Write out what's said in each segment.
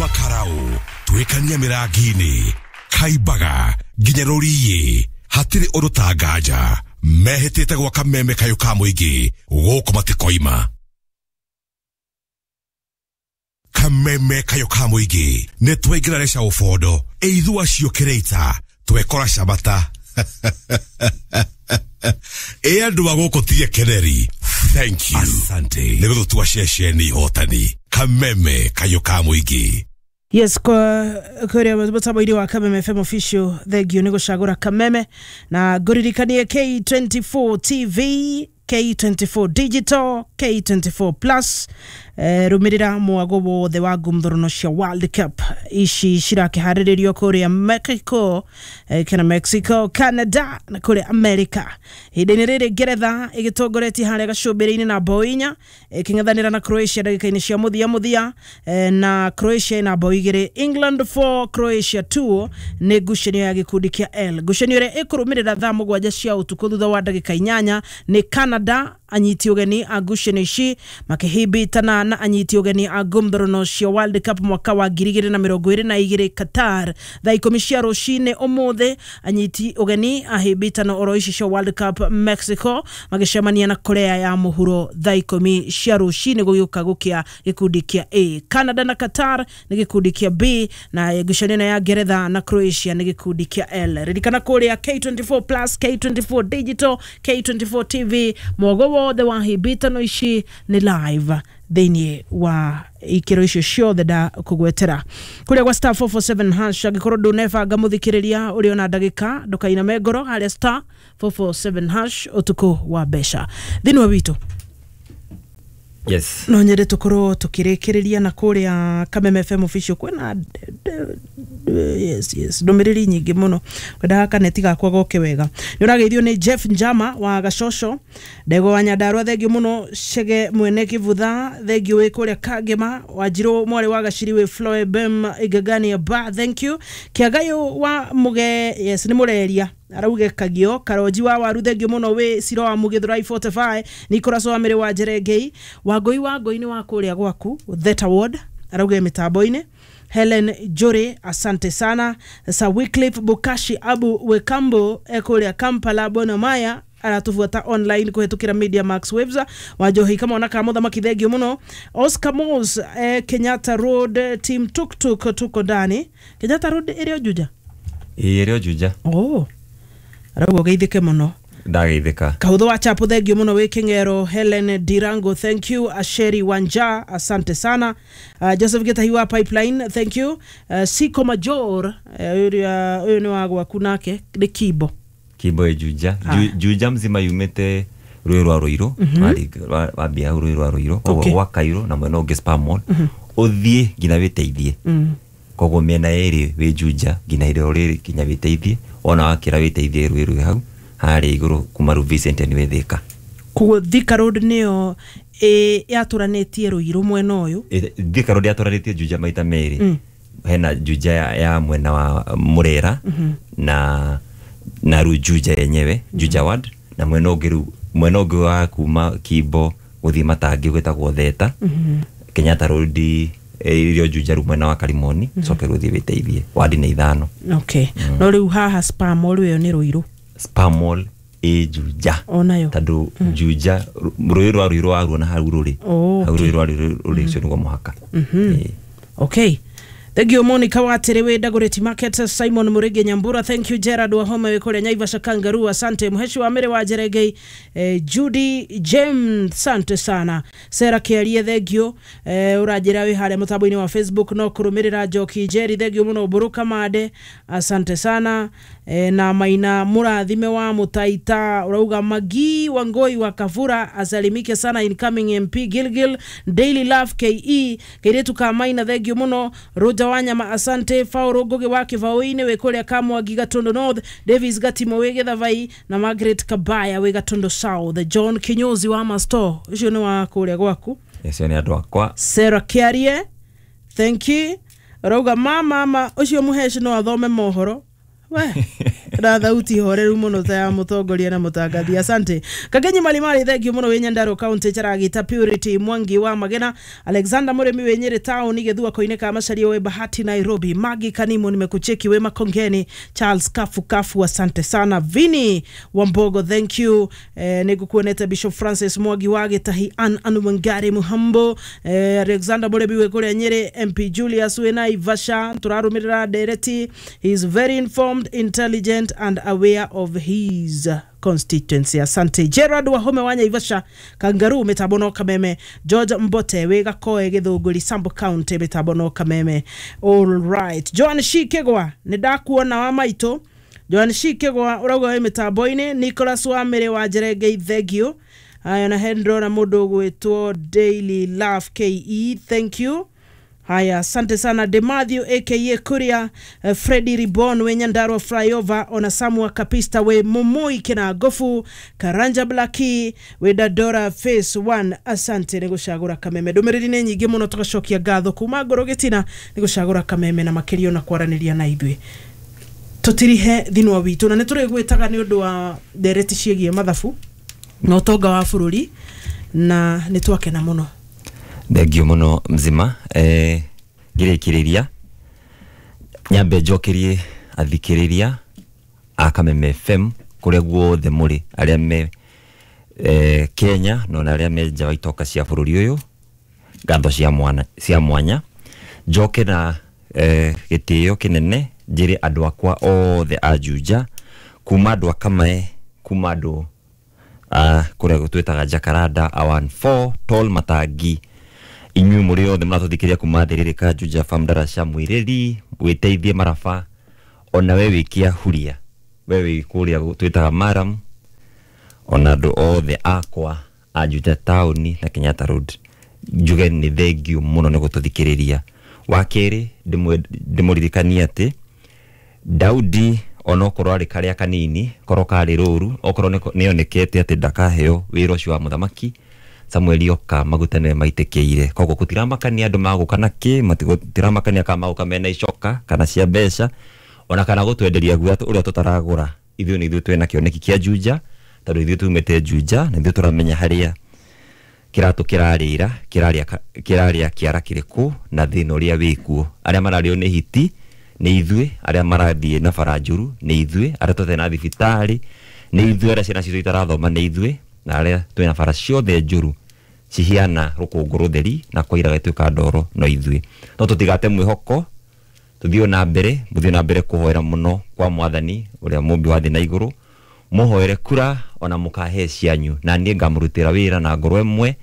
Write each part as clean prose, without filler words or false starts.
Kuma karau twikania mirangi-ini kaimbaga nginya rũriĩ hatirĩ ũndũ ta nganja mehĩtĩte gwa Kameme kayũ ka mũingĩ gũkũ matikoima. Kameme kayũ ka mũingĩ nĩ twaingĩra reca ũbondo ĩithu acio kĩrĩita twekora cabata ĩ andũ a gũkũ tie keneri. Thank you, asante nĩ gũtũtua ceceni ihotani. Kameme kayũ ka mũingĩ. Yes, kwa kuria mutambo-inĩ wa Kameme FM Official, thengio nĩ gũcagũra Kameme na ngũririkanie K24 TV, K24 Digital, K24 Plus. Rũmĩrĩra mwago wothe wa ngumthũrũno cia World Cup ici cirakĩharĩrĩrio kũrĩa Mexico, kana Mexico, Canada na kũrĩa America. Ihinda-inĩ rĩrĩ Ngeretha ĩgĩtongoretie harĩa gacũmbĩrĩ-inĩ na bao 4, ĩkĩng'ethanĩra na Croatia ndagĩka-inĩ cia mũthia mũthia, na Croatia ĩna bao 2, England 4, Croatia 2. Nĩ ngucanio ya gĩkundi kĩa L. Ngucanio ĩrĩa ĩkũrũmĩrĩra thaa 7 cia ũtukũ thutha wa ndagĩka 8 nĩ Canada, anyiti ũgeni a ngucanio ici, makĩhimbitana na anyiti ũgeni a ngumthũrũno cia World Cup mwaka wa 2022, Qatar. Thaa 10 cia rũcinĩ ũmũthĩ, anyiti ũgeni a hĩmbĩtano oro ici cia World Cup, Mexico, magĩcemania na Korea ya Mũhuro thaa 10 cia rũcinĩ gũgĩũka gũkĩa, gĩkundi kĩa A. Canada na Qatar nĩ gĩkundi kĩa B, na ngucanio ĩno ya Ngeretha na Croatia nĩ gĩkundi kĩa L. Ririkana kũrĩa K24 Plus, K24 Digital, K24 TV, mwogo wothe wa hĩmbĩtano ici nĩ live thĩinĩ wa ikĩro icio ciothe ndakũgwetera. Kũrĩa gwa *447#, angĩkorwo ndũnebanga mũthikĩrĩria ũrĩ ona ndagĩka, ndũkainame ngoro harĩa *447# ũtukũ wa mbeca thĩinĩ wa witũ. Yes. No nyende tũkorwo tũkĩrĩkĩrĩria na kũrĩa Kameme FM Official kwĩna yes ndũmĩrĩri nyingĩ mũno. Kwendaga kaneti gakwa goke wega. Nĩ ũrageithio nĩ Jeff Njama wa Gacoco, Ndego wa Nyandarua, thengio mũno. Cege mwene kĩbutha, thengio wĩ kũrĩa Kangema. Wanjirũ mwarĩ wa Gaciri wĩ Floebem Igagania ba, thank you. Kĩagayũ wa Mũge, yes, nĩ mũreria arauge kagio. Karonji wa waru, thengio mũno wĩ Ciro wa Mugithurai 45. Nicholas wa Mĩrĩ wa Njerengei, Wangũi wa Ngũi nĩ wa kũrĩa gwaku Theta Ward, arauge mĩtambo-inĩ. Helen Jore, asante sana. Sir Wycliffe Bukashi Abu Wekambo ekũrĩa Kampala Bonamaya, aratubuata online kũhetũkĩra Media Max Waves. Wanjohi kamwana ka mũthamaki, thengio mũno. Oscar Mos, Kenyatta Road, team tuktuk tuko ndani. Kenyatta Road ĩrĩ o Juja? Ĩĩ, ĩrĩ o Juja. Oh, arauga ũgeithĩke mũno. Ndageithĩka. Kahutho wa Chapo, thengio mũno wĩ Kĩng'ero. Helen Dirango, thank you. Asheri Wanja, asante sana. Joseph Gitahi wa Pipeline, thank you. Siko Major, ũyũ nĩ wa gwaku nake nĩ Kimbo. Kimbo ĩ Juja. Ah. Juja mzima yumĩte rũĩ rwa Rũirũ. Wambia hau rũĩ rwa Rũirũ, koguo gwa Kairũ na mwena ũngĩ Spamon, ũthiĩ nginya wĩteithie. Koguo mĩena ĩrĩ wĩ Juja nginya irĩo rĩrĩ nginya wĩteithie, wona wakĩra wĩteithie rũĩ rwĩ hau harĩa igũrũ kuma rĩu Vincent nĩ wĩ Thĩka. Koguo Thika Road nĩyo yatũranĩtie Rũirũ mwena ũyũ? Thika Road yatũranĩtie Juja maita merĩ. Hena Juja ya mwena wa Murera na rĩu Juja yenyewe, Juja Ward, na mwena ũngĩ rĩu, mwena ũngĩ wa kuma Kimbo gũthiĩ Matangi gwĩtagwo Theta. Kenyatta Road irio Juja rĩu mwena wa Karimoni, coke rĩu ũthiĩ wĩteithie wadi nĩ 5. Okay, no rĩu haha Spamall ĩyo nĩ Rũirũ? Spamall ĩ Juja. Onayo? Tondũ Juja rũĩ rwa Rũirũ waruona hau rũrĩ hau rũĩ rwa Rũirũ rũrĩ, ũcio nĩguo mũhaka. Ĩĩ. Okay. Thank you Monica Watiri wĩ Dagoretti Market, Simon Murigi Nyambura, thank you. Gerard Wahome wĩ kũrĩa Naivasha Kangaroo, asante. Muheshi wa Mĩrĩ wa Njeregei, Judy James, asante sana. Sarah Kĩarie, thank you. Ũranjĩra wĩ harĩa mũtambo-inĩ wa Facebook no kũrũmĩrĩra. Njoki Njeri, thank you mũno. Mbũrũ Kamande, asante sana. Na Maina Mũrathime wa Mũtaita ũrauga Magi Wangoi wa Kavura asalimike sana, incoming MP Gilgil. Daily Love KE kairĩtu ka Maina, thank you mũno. Roger Wanyama, asante. Fauro Ngugi wa Kĩbaũ-inĩ wĩ kũrĩa Kamwangi Gatundu North, Davis Gatimo wĩ Gĩthavai na Margaret Kabaya wĩ Gatundu South. John Kinyozi wa Masto, ũcio nĩ wa kũrĩa gwaku. Acio nĩ andũ akwa. Sarah Kiarie, thank you. Rauga mama mama ũcio mũheci no athome mohoro we. Na thauti horeru muno ta ya mutongoria na mutangathi. Asante Kagenyi Malimali, thank you muno wi Nyandarua County. Charagita Purity Mwangi wa Magena, Alexander Murimi wi Nyeri town, Githua koine ka Macharia we Bahati Nairobi, Magi Kanimo nimekucheki we Makongeni, Charles Kafu Kafu asante sana, Vini Wambogo thank you, nigukuonete Bishop Francis Mwangi wa Gitahi, Ann Anumangari Muhambo, Alexander Murimi wi kuria Nyeri, MP Julius we Naivasha, turarumirira ndereti. He is very informed, intelligent and aware of his constituency. Asante Gerard Wahome wa Naivasha, Kangaroo mitabono Kameme, George Mbote we Gakoe Githunguri, Sambu County mitabono Kameme. All right, Joan Shikegwa ni ndakuona wa maito. Joan Shikegwa urauga wi mitambo-ini. Nicholas Wamere wa Njerenge, thank you. Haya, na Hendro na mundu gwitwo Daily Love KE, thank you. Haya, asante sana De Matthew aka Kuria, Freddy Ribon we Nyandarua Flyover, ona Samua Kapista we Mumui kina Gofu, Karanja Blaki we Dadora Phase 1. Asante ni gucagura Kameme. Ndumiriri ni nyingi muno, tugacokia ngatho kuma ngoro gitina ni gucagura Kameme na makiria na kwaraniria na ithuĩ. Tutirihe thinwa witu na nĩ tũrĩgwĩtaga nĩ ũndũ wa ndereti ciĩgiĩ mathabu na ũtonga wa bũrũri, na nĩ twakena mũno. Thengio muno mzima. Ngĩrĩkĩrĩria nyambe njokerie athikĩrĩria a Kameme FM kũrĩa guothe mũrĩ, arĩa me Kenya na ona arĩa me nja wa itoka cia bũrũri ũyũ, ngatho cia mwanya. Njoke na gĩtĩo kĩnene njĩre andũ akwa othe a Juja, kuma andũ a Kamae, kuma andũ a kũrĩa twĩtaga Jacaranda, Awan 4 Tol Matangi, inyuĩ mũrĩ othe mũratũthikĩrĩria kuma Thĩrĩrĩka, Juja Farm, Darasha, Mwĩrĩri, wĩteithie Maraba, ona we wĩ Kĩahuria, we wĩ kũrĩa twĩtaga Maram, ona andũ othe akwa a Juja taũni na Kenyatta Road, njuge nĩ thengio mũno nĩ gũtũthikĩrĩria. Wa kerĩ ndĩmũririkanie atĩ Daudi onokorwo arĩ karĩa kanini, korwo karĩ rũru, okorwo nĩonekete atĩ ndakaheo wĩra ũcio wa mũthamaki, Samueli oka maguta nĩwe maitĩkĩire. Koguo gũtiramakania andũ magũka na kĩ, gũtiramakania kana magũka mena icoka kana cia mbeca, ona kana gũtwenderia guoya ũrĩa tũtaragũra. Ithuĩ nĩ ithuĩ twĩna kĩoneki kĩa Juja, tondũ ithuĩ tumĩte Juja na ithuĩ tũramenya harĩa kĩratũ kĩrarĩra, kĩrarĩa kĩara kĩrĩkũ na thĩna ũrĩa wĩkuo. Arĩa mararĩo nĩ hiti nĩ ithuĩ, arĩa marathiĩ na bara njũru nĩ ithuĩ, arĩa tũtarĩ na thibitarĩ nĩ ithuĩ, arĩa ciana citũ itarathoma nĩ ithuĩ, na arĩa twĩna bara ciothe njũru cihiana rũkũngũ rũtheri na kwaira gĩtuĩka ndoro no ithuĩ. No tũtigate mwĩhoko, tũthiĩ na mbere, mũthiĩ na mbere kũhoera mũno kwa Mwathani ũrĩa mũmbi wa thĩ na igũrũ, mũhoere kura ona mũkahe cianyu, na niĩ ngamũrutĩra wĩra na ngoro ĩmwe,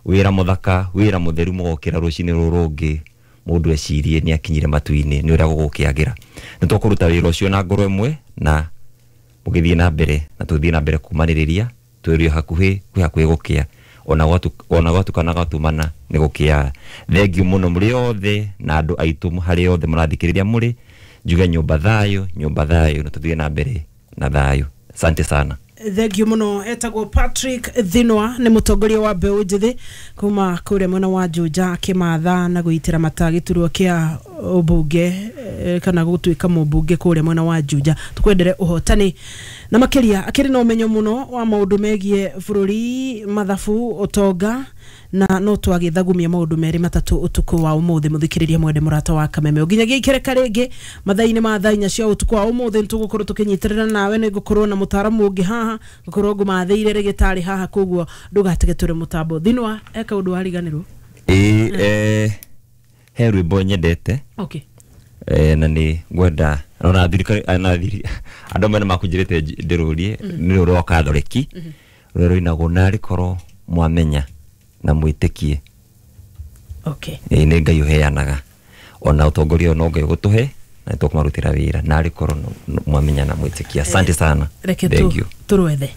wĩra mũthaka, wĩra mũtheru, mũgokĩra rũcinĩ rũrũ rũngĩ mũndũ ecirie nĩ akinyire matu-inĩ nĩ ũrĩa gũgũkĩagĩra. Nĩ tũkũruta wĩra ũcio na ngoro ĩmwe na mũgĩthiĩ na mbere, na tũthiĩ na mbere kũmanĩrĩria, twĩrio hakuhĩ, kwĩ hakuhĩ gũkĩa, ona gwatukana gwatumana nĩ gũkĩaga. Thengio mũno mũrĩ othe na andũ aitũ harĩa othe mũrathikĩrĩria mũrĩ, njuge nyũmba thayũ, nyũmba thayũ, na tũthiĩ na mbere na thayũ. Asante sana. Thank you muno. Etagwo Patrick Thinwa, nĩ mũtongoria wa mbeũ njĩthĩ kuma kũrĩa mwena wa Juja, akĩmatha na gũitĩra mata gĩturwa kĩa ũmbunge kana gũtuĩka mũmbunge kũrĩa mwena wa Juja. Tũkwendere ũhotani na makĩria akĩrĩ na ũmenyo mũno wa maũndũ megiĩ bũrũri, mathabu, ũtonga, na no twagĩthagumia maũndũ merĩ matatũ ũtukũ wa ũmũthĩ. Mũthikĩrĩria mwende mũrata wa Kameme, ũnginyagia ikereka rĩngĩ mathaa-inĩ ma thaa inya cia ũtukũ wa ũmũthĩ, nĩtũgũkorwo tũkĩnyitĩrĩra nawe. Nĩ ngũkorwo na mũtaaramu ũngĩ haha, ngũkorwo ngũmathĩire rĩgĩtarĩ haha, koguo ndũgatege tũrĩ mũtambo. Thinwa, eka ũndũ wariganĩrwo. Ĩĩ, he rwĩmbo nyendete. Okay. Na nĩ ngwenda ona thirikari andũ amwe nĩ makũnjĩrĩte ndĩrũrie, nĩ rũrũ rwa Kathoreki rũrĩa rũinagwo narĩ korwo mwamenya na mwĩtĩkie. Okay. Ĩĩ, nĩ Ngai ũheanaga, ona ũtongoria no Ngai ũgũtũhe na nĩ tũkũmarutĩra wĩra, narĩ korwo mwamenya na mwĩtĩkie. Asante sana. Reke Thank you. tũrwethe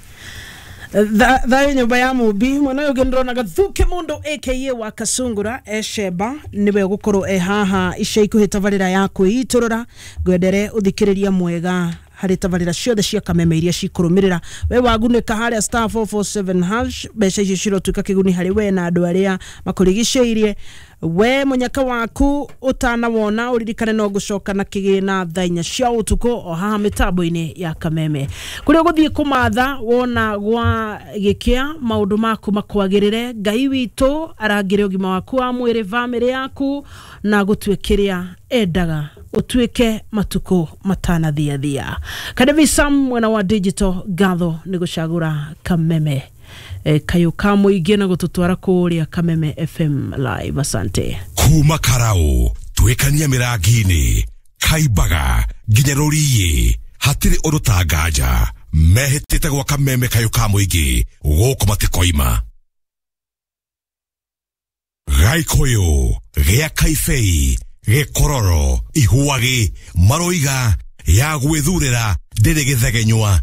thayũ nyũmba ya mũmbi. Mwena ũyũ ũngĩ nĩndĩrona Gathuke mũndũ aka wa Kasungura esheba nĩwe ũgũkorwo e haha ica ikuhĩ tabarĩra ya kwĩitũrũra. Ngwendere ũthikĩrĩria mwega. Harĩ tabarĩra ciothe cia Kameme iria cikũrũmĩrĩra, we wagunĩka harĩa *447#, mbeca icio cirotuĩka kĩguni harĩ we na andũ arĩa makũrigicĩirie. We mũnyaka waku ũtanawona, ũririkane no gũcoka na kĩgĩna thaa 4 cia ũtukũ o haha mĩtambo-inĩ ya Kameme, kũrĩa ũgũthiĩ kũmatha wona gwa gĩkĩa maũndũ maku makwagĩrĩre. Ngai witũ arangĩre ũgima waku wa mwĩrĩ, bamĩrĩ yaku, na gũtue kĩrĩa endaga ũtuĩke matukũ matanathiathia. Kadevi Sam mwena wa digital, ngatho nĩ gũcagũra Kameme, kayũ ka mũingĩ, na gũtũtwara kũrĩa Kameme FM live. Asante. Kuma karau twĩkania mĩrangi-inĩ, kaimbaga nginya rũriĩ, hatirĩ ũndũ ta nganja mehĩtĩte gwaka meme kayũ ka mũingĩ gũkũ matikoima. Gaikũyũ gĩa Kaibei, Gĩkororo, Ihuagĩ, maroiga ya gwĩthurĩra ndĩrĩ gĩthegenywa.